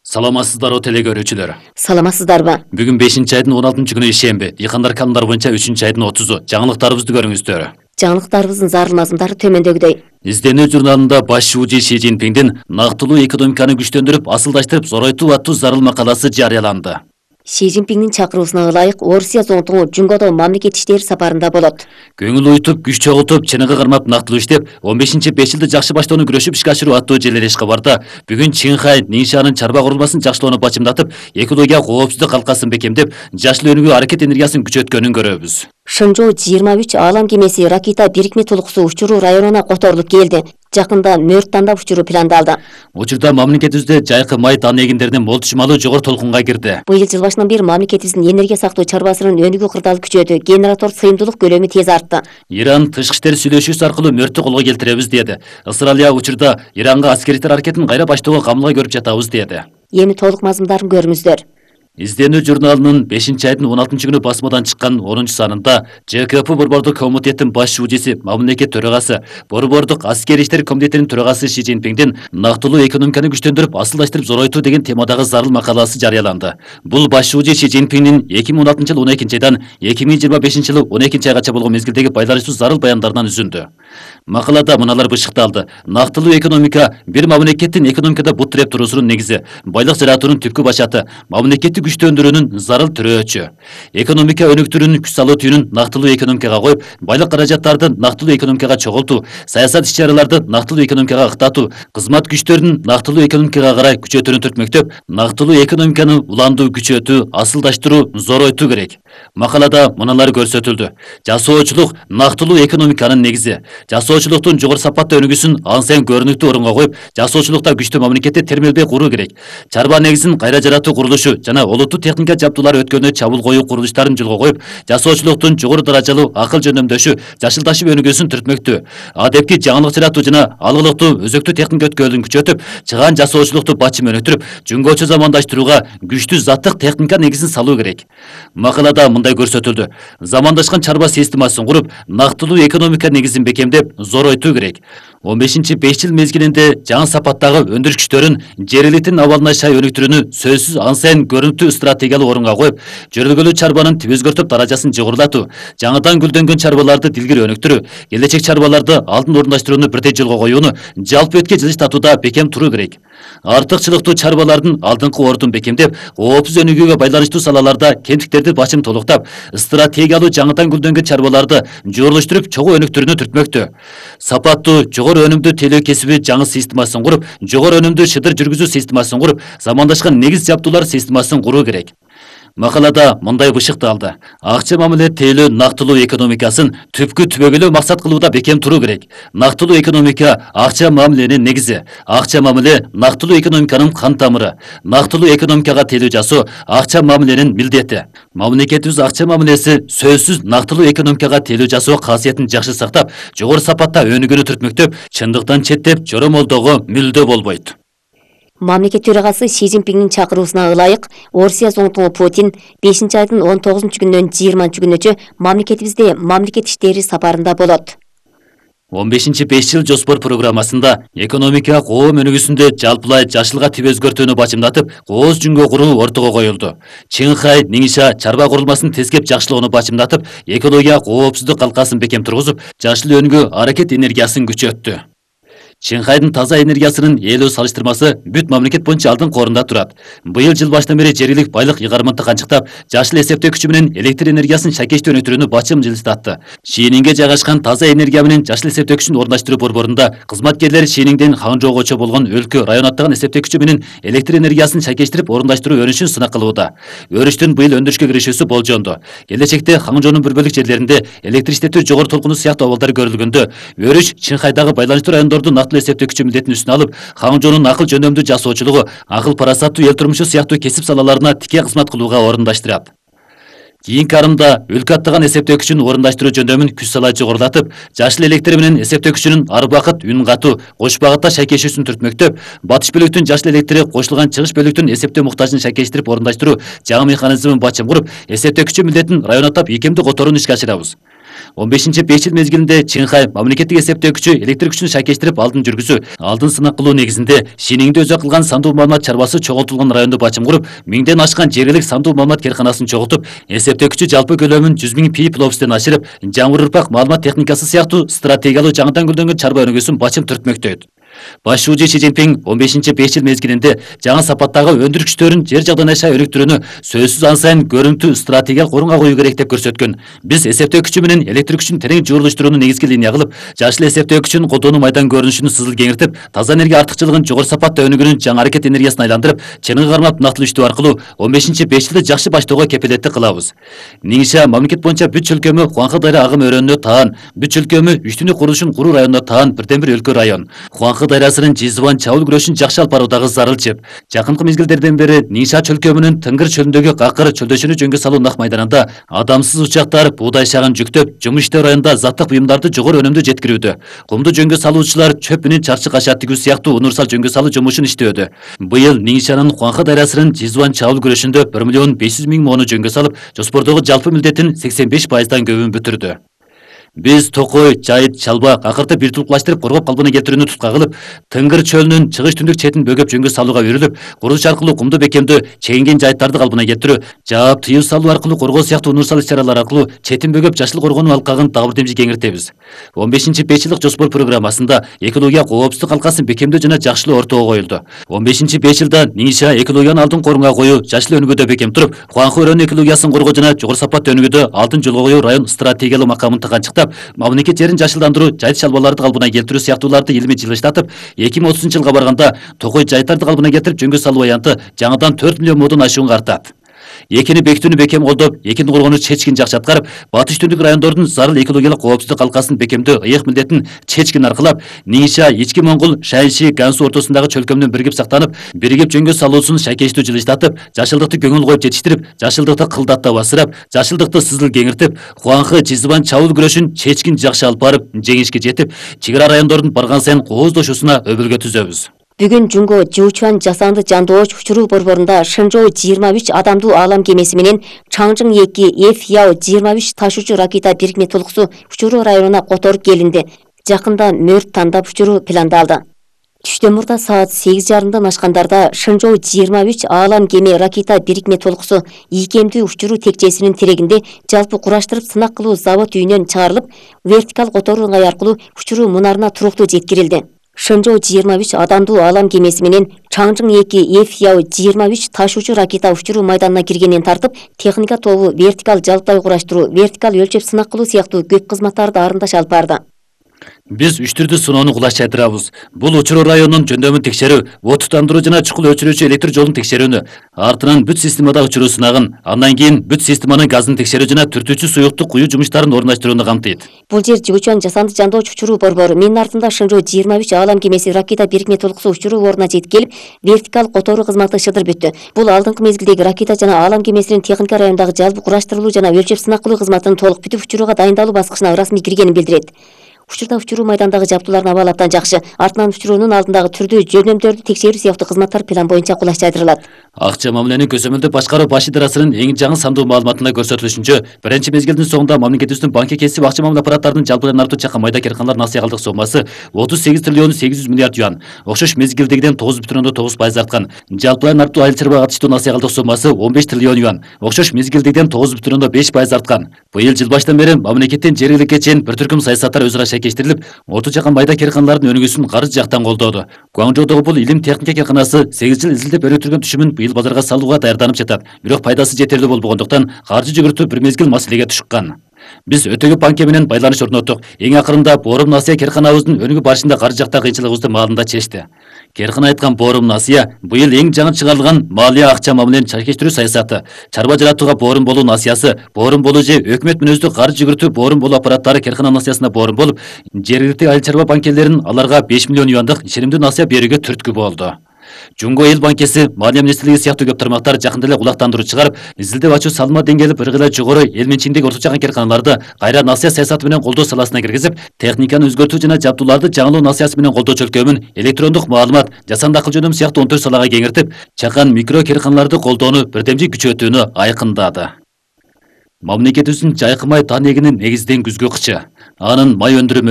Саламатсыздарбы теле көрүүчүлөр. Саламатсыздарбы? Бүгүн 5-айдын 16-күнү ишемби. Дыйкандар календар боюнча 3-айдын 30-у. Жаңылыктарыбызды көрүңүздөр. Жаңылыктарыбыздын зарыл мазмундары төмөндөгүдөй. Изденүү журналында баш шүүжү Ши Цзиньпиндин нактылуу экономиканы күчтөндүрүп, асылдаштырып, зоройтуу аттуу зарыл макаласы жарыяланды. Ши Цзиньпиндин чакыруусуна ылайык Орусия зонтугу Жунгодо мамлекет иштери сапарында болот. Көңүл уйтуп, күч чогултуп, чыныгы кармап нактылуу иштеп, 15-5 жылды жакшы баштоону күрөшүп ишке ашыруу аттуу желелеш кабарда бүгүн Чинхай Ниншанын чарба курулмасын жакшылоону бачымдатып, экология коопсуздук калкасын бекемдеп, жашыл өнүгүү аракет энергиясын күчөткөнүн көрөбүз. Шынжоо 23 Алам кемеси Ракита бирикме толукусу учуруу районуна которулуп келди. Жакында мөрт тандап учуруу пландалды. Учурда мамлекетибизде жайкы май тан эгиндеринин мол түшүмалуу жогору толкунга кирди. Быйыл жыл башынан бери мамлекетибиздин энергия сактоо чарбасынын өнүгүү кырдаалы күчөдү. Генератор сыйымдуулук көлөмү тез артты. Иран тышкы иштер сүйлөшүүсү аркылуу мөрттү колго келтиребиз деди. Ысыралия учурда Иранга аскери аракетин кайра баштоого камылга көрүп жатабыз деди. Эми толук мазмундарын көрүңүздөр. Изденүү журналынын 5-айдын 16-күнү басмадан чыккан 10-санында ЖКП Борбордук комитеттин баш шүүжүсү, мамлекет төрагасы, Борбордук аскери иштер комитетинин төрагасы Ши Цзиньпиндин нактылуу экономиканы күчтөндүрүп, асылдаштырып, зоройтуу деген темадагы зарыл макаласы жарыяланды. Бул баш шүүжү Ши Цзиньпиндин 2016-жылы 12-айдан 2025-жылы 12-айгача болгон мезгилдеги байланыштуу зарыл баяндарынан үзүндү. Макалада мыналар бышыкталды. Нактылуу экономика бир мамлекеттин экономикада бут тиреп туруусунун негизи, байлык жаратуунун түпкү башаты, мамлекетти күчтөндүрүүнүн зарыл түрөөчү. Экономика өнүктүрүүнүн күч салуу түйүнүн нактылуу экономикага коюп, байлык каражаттарды нактылуу экономикага чогултуу, саясат иш-чараларды нактылуу экономикага ыктатуу, кызмат күчтөрүн нактылуу экономикага карай күчөтүүнү түртмөктөп, нактылуу экономиканы уландуу, күчөтүү, асылдаштыруу, зоройтуу керек. Макалада мыналар көрсөтүлдү. Жасоочулук нактылуу экономиканын негизи. Жасоочулуктун жогору сапаттуу өнүгүүсүн ансен көрүнүктүү орунга коюп, жасоочулукта күчтүү мамлекетти термелбей куруу керек. Чарба негизин кайра жаратуу курулушу жана олуттуу техника жабдуулар өткөнү чабуул коюу курулуштарын жолго коюп, жасоочулуктун жогору даражалуу акыл жөндөмдөшү, жашылдашып өнүгүүсүн түртмөктүү. Адепти жаңылык жаратуу жана алгылыктуу өзөктүү техника өткөөлүн күчөтүп, чыгаан жасоочулукту бачым өнүктүрүп, жөнгөчө замандаштырууга күчтүү заттык техника негизин салуу керек. Макалада мындай көрсөтүлдү. Замандашкан чарба системасын куруп, нактылуу экономика негизин бекемдеп, зоройтуу керек. 15-5 жыл мезгилинде жаңы сапаттагы өндүрүш күчтөрүн жер элитинин абалына шай өнүктүрүүнү сөзсүз ансен көрүнүктүү стратегиялык орунга коюп, жөрөлгөлүү чарбанын тип өзгөртүп даражасын жогорулатуу, жаңыдан гүлдөнгөн чарбаларды дилгири өнүктүрүү, келечек чарбаларды алдын орундаштырууну бирдей жолго коюуну жалпы этке жылыштатууда бекем туруу керек. Артыкчылыктуу чарбалардын алдыңкы ордун бекемдеп, коопсуз өнүгүүгө байланыштуу салаларда кемтиктерди бачым толуктап, стратегиялуу жаңыдан гүлдөнгөн чарбаларды жуурулуштуруп, чогуу өнүктүрүүнү түртмөктүү. Сапаттуу, жогору өнүмдүү телөө кесиби жаңы системасын куруп, жогору өнүмдүү шыдыр жүргүзүү системасын куруп, замандашкан негиз жабдуулар системасын куруу керек. Макалада мындай бышыкталды. Акча мамиле тейлөө нактылуу экономикасын түпкү түбөгөлүү максат кылууда бекем туруу керек. Нактылуу экономика акча мамиленин негизи. Акча мамиле нактылуу экономиканын кан тамыры. Нактылуу экономикага тейлөө жасоо акча мамиленин милдети. Мамлекетибиз акча мамилеси сөзсүз нактылуу экономикага тейлөө жасоо касиетин жакшы сактап, жогору сапатта өнүгүүнү түртмөктөп, чындыктан четтеп, жоромолдоого мүлдө болбойт. Мамлекет төрагасы Ши Цзиньпиндин чакыруусуна ылайык Орусия зонтугу Путин 5-айдын 19-күнүнөн 20-күнүнчө мамлекетибизде мамлекет иштери сапарында болот. 15-5 жыл жоспор программасында экономика коом өнүгүүсүндө жалпылай жашылга тип өзгөртүүнү бачымдатып, кооз жүнгө куруу ортого коюлду. Чинхай Нинша чарба курулмасын тескеп жакшылоону бачымдатып, экология коопсуздук калкасын бекем тургузуп, жашыл өнүгүү аракет энергиясын күчөттү. Чинхайдын таза энергиясынын ээлөө салыштырмасы бүт мамлекет боюнча алдыңкы орунда турат. Быйыл жыл башынан бери жергилик байлык ыйгарымын канчыктап, жашыл эсептөө күчү менен электр энергиясын шакештүү өнүктүрүүнү бачым жылыстатты. Шининге жайгашкан таза энергия менен жашыл эсептөө күчүн орундаштыруу борборунда кызматкерлер Шиниңден Хаңжоогочо болгон өлкө район аттаган эсептөө күчү менен электр энергиясын шакештирип орундаштыруу өрүшүн сынак кылууда. Өрүштүн быйыл өндүрүшкө киришүүсү болжондо. Келечекте Хаңжоонун бир бөлүк жерлеринде электр иштетүү жогору толкуну сыяктуу абалдар көрүлгөндө, өрүш Чинхайдагы байланыштуу райондордун нактылуу эсептөө күчү милдетин үстүнө алып, Хаңжоонун акыл жөндөмдүү жасоочулугу, акыл парасаттуу эл турмушу сыяктуу кесип салаларына тике кызмат кылууга орундаштырат. Кийинки арымда өлкө аттаган эсептөө күчүн орундаштыруу жөндөмүн күч салай жогорулатып, жашыл электр менен эсептөө күчүнүн ар убакыт үн катуу, кош багытта шайкешүүсүн түртмөктөп, батыш бөлүктүн жашыл электри кошулган чыгыш бөлүктүн эсептөө муктажын шайкештирип орундаштыруу жаңы механизмин бачым куруп, эсептөө күчү милдетин район аттап ийкемдүү которууну ишке ашырабыз. 15-5 жыл мезгилинде Чинхай мамлекеттик эсептөө күчү электр күчүн шайкештирип алдын жүргүзүү, алдын сынак кылуу негизинде Шиниңде өзү кылган сандуу маалымат чарбасы чогултулган райондо бачым куруп, 1000ден ашкан жергилик сандуу маалымат керканасын чогултуп, эсептөө күчү жалпы көлөмүн 100 000 пи+тен ашырып, жаңы ырпак маалымат техникасы сыяктуу стратегиялуу жаңыдан гүлдөнгөн чарба өнүгүүсүн бачым түртмөктөйт. Баш шууju Си Цзиньпин 15-5 жыл мезгилинде жаңы сапаттагы өндүр күчтөрүн жер жагдан аша өнүктүрүүнү сөзсүз ан сайын көрүнүктүү стратегиялык орунга коюу керек деп көрсөткөн. Биз эсептөө күчү менен электр күчүн терең жуурулуштурууну негизги линия кылып, жашыл эсептөө күчүн колдонуу майдан көрүнүшүнүн сызыл кеңиртип, таза энергия артыкчылыгын жогору сапатта өнүгүүнүн жаңы аракет энергиясына айландырып, чыныгы кармап нактылуу иштөө аркылуу 15-5 жылды жакшы баштоого кепилеттик кылабыз. Нingxia мамлекет боюнча бүт чөлкөмү Хуанхэ дайра агым өрөөнүнө таан, бүт чөлкөмү үчтүнү курулушун куруу районуна таан бирден бир өлкө район. Хуанхэ дайрасынын Жизван чабыл күрөшүн жакшы алып баруудагы зарыл чеп. Жакынкы мезгилдерден бери Ningxia чөлкөмүнүн Тынгыр чөлүндөгү Какыр чөлдөшүнү жөнгө салуу нак майданында адамсыз учактар буудай шагын жүктөп, жумуш иштөө районунда заттык буюмдарды жогору өнүмдүү жеткирүүдө. Кумду жөнгө салуучулар чөп менен чарчы кашат тигүү сыяктуу универсал жөнгө салуу жумушун иштөөдө. Быйыл Ningxia'нын Хуанхэ дайрасынын Жизван чабыл күрөшүндө 1 500 000 моону жөнгө салып, жоспордогу жалпы милдеттин 85%дан көбүн бүтүрдү. Биз Токой, Жайыт, Чалба, Какырды бир тулуплаштырып коргоп калпына келтирүүнү тутка кылып, Тынгыр чөлүнүн чыгыш түндүк четин бөгөп жөнгө салууга үйрүлүп, курулуш аркылуу кумду бекемдөө, чегинген жайыттарды калпына келтирүү, жаап тыюу салуу аркылуу коргоо сыяктуу универсал иш-чаралар аркылуу четин бөгөп жашыл коргоонун алкагын дагы бир демжи кеңиртебиз. 15-5 жылдык жоспор программасында экология коопсуздук алкасын бекемдөө жана жакшылоо ортого коюлду. 15-5 жылда Ningxia экологияны алдын корунга коюу, жашыл өнүгүүдө бекем туруп, Хуанхэ өрөөнүн экологиясын коргоо жана жогору сапаттуу өнүгүүдө алдын жолго коюу район стратегиялык макамын тыганчыктап, мамлекет жерин жашылдандыруу, жайыт чалбаларды калпына келтирүү сыяктууларды илимий жылыштатып, 2030 жылга барганда Токой жайыттарды калпына келтирип жөнгө салуу аянты жаңыдан 4 миллион модон ашуун картат. Экини бекитүүнү бекем колдоп, экини коргонуу чечкин жакшы аткарып, батыш түндүк райондордун зарыл экологиялык коопсуздук алкасын бекемдөө ыйык милдетин чечкин аркылап, Ningxia Ички Моңгол, Шаньши, Гансу ортосундагы чөлкөмдүн биригип сактанып, биригип жөнгө салуусун шайкештүү жылыштатып, жашылдыкты көңүл коюп жетиштирип, жашылдыкты кылдаттап асырап, жашылдыкты сызыл кеңиртип, Хуанхэ Жизван чабыл күрөшүн чечкин жакшы алып барып, жеңишке жетип, чек ара райондордун барган сайын кооздошуусуна өбөлгө түзөбүз. Бүгүн Жунго Жуучуан жасанды жандооч учуруу борборунда Шэнчжоу 23 адамдуу аалам кемеси менен Чаңжың 2 F-Яо 23 ташуучу ракета бирикме толкусу учуруу районуна которуп келинди. Жакында мөрт тандап учуруу пландалды. Түштөн мурда саат 8:30 ашкандарда Шэнчжоу 23 аалам кеме ракета бирикме толкусу ийкемдүү учуруу текчесинин терегинде жалпы кураштырып сынак кылуу завод үйүнөн чыгарылып, вертикал которуу ыңгай аркылуу учуруу мунарына туруктуу жеткирилди. Шэнчжоу 23 адамдуу аалам кемеси менен Чаңжың 2 F-Яо 23 ташуучу ракета учуруу майданына киргенин тартып, техника тобу вертикал жалпай кураштыруу, вертикал өлчөп сынак кылуу сыяктуу көп кызматтарды арындаш алып барды. Биз 3 түрдүү сыноону кулаш чайдырабыз. Бул учуруу районунун жөндөмүн текшерүү, отуттандыруу жана чукул өчүрүүчү электр жолун текшерүүнү, артынан бүт системада учуруу сынагын, андан кийин бүт системанын газын текшерүү жана түртүүчү суюкту куюу жумуштарын орундаштырууну камтыйт. Бул жер Жуучуан жасанды жандооч учуруу борбору. Менин артымда Шэнчжоу 23 аалам кемеси ракета бирикме толкусу учуруу ордуна жетип келип, вертикал которуу кызматы шыдыр бүттү. Бул алдыңкы мезгилдеги ракета жана аалам кемесинин техника райондагы жалпы кураштырылуу жана өлчөп сынак кылуу кызматынын толук бүтүп учурууга дайындалуу баскычына ырасмий киргенин билдирет. Учурда учуруу майдандагы жабдуулардын абалы абдан жакшы. Артынан учуруунун алдындагы түрдүү жөндөмдөрдү текшерүү сыяктуу кызматтар план боюнча кулаш чайдырылат. Акча мамиленин көзөмөлдүп башкаруу баш идарасынын эң жаңы сандуу маалыматында көрсөтүлүшүнчө, биринчи мезгилдин соңунда мамлекетибиздин банкке кесип акча мамиле аппараттарынын жалпыдан артуу чакан майда керканалар насыя калдык сомасы 38 триллион 800 миллиард юан, окшош мезгилдегиден 9,9% арткан. Жалпыдан артуу айыл чарба катыштуу насыя калдык сомасы 15 триллион юан, окшош мезгилдегиден 9,5% арткан. Быйыл жыл баштан бери мамлекеттин жергиликке чейин бир түркүм саясаттар өзара шайкештирилип, орто чакан майда керканалардын өнүгүүсүн каржы жактан колдоду. Гуаңжоудогу бул илим техника керканасы 8 жыл изилдеп өрөктүргөн түшүмүн быйыл базарга салууга даярданып жатат. Бирок пайдасы жетерлүү болбогондуктан каржы жүгүртүү бир мезгил маселеге түшкөн. Биз өтө көп банке менен байланыш орноттук. Эң акырында Борум Насыя керканабыздын өнүгүү барышында каржы жакта кыйынчылыгыбызды маалында чечти. Керкана айткан Борум Насыя быйыл эң жаңы чыгарылган малия акча мамиленин чайкештирүү саясаты, чарба жаратууга Борум болуу насыясы, Борум болуу же өкмөт мүнөздүү каржы жүгүртүү Борум болуу аппараттары керкана насыясына Борум болуп, жергиликтүү айыл чарба банкелеринин аларга 5 миллион юандык ишенимдүү насыя берүүгө түрткү болду. Жунго эл банкеси, Малия министрлиги сыяктуу көп тармактар жакында эле кулактандыруу чыгарып, изилдеп ачуу салма деңгээли бир кыйла жогору эл менчигиндеги орто чакан керканаларды кайра насыя саясаты менен колдоо саласына киргизип, техниканы өзгөртүү жана жабдууларды жаңылоо насыясы менен колдоо чөлкөмүн электрондук маалымат, жасанды акыл жөнөм сыяктуу 14 салага кеңиртип, чакан микро керканаларды колдоону бирдемжи күчөтүүнү айкындады. Мамлекетибиздин жайкы май дан эгинин негизден күзгү кычы. Анын май өндүрүү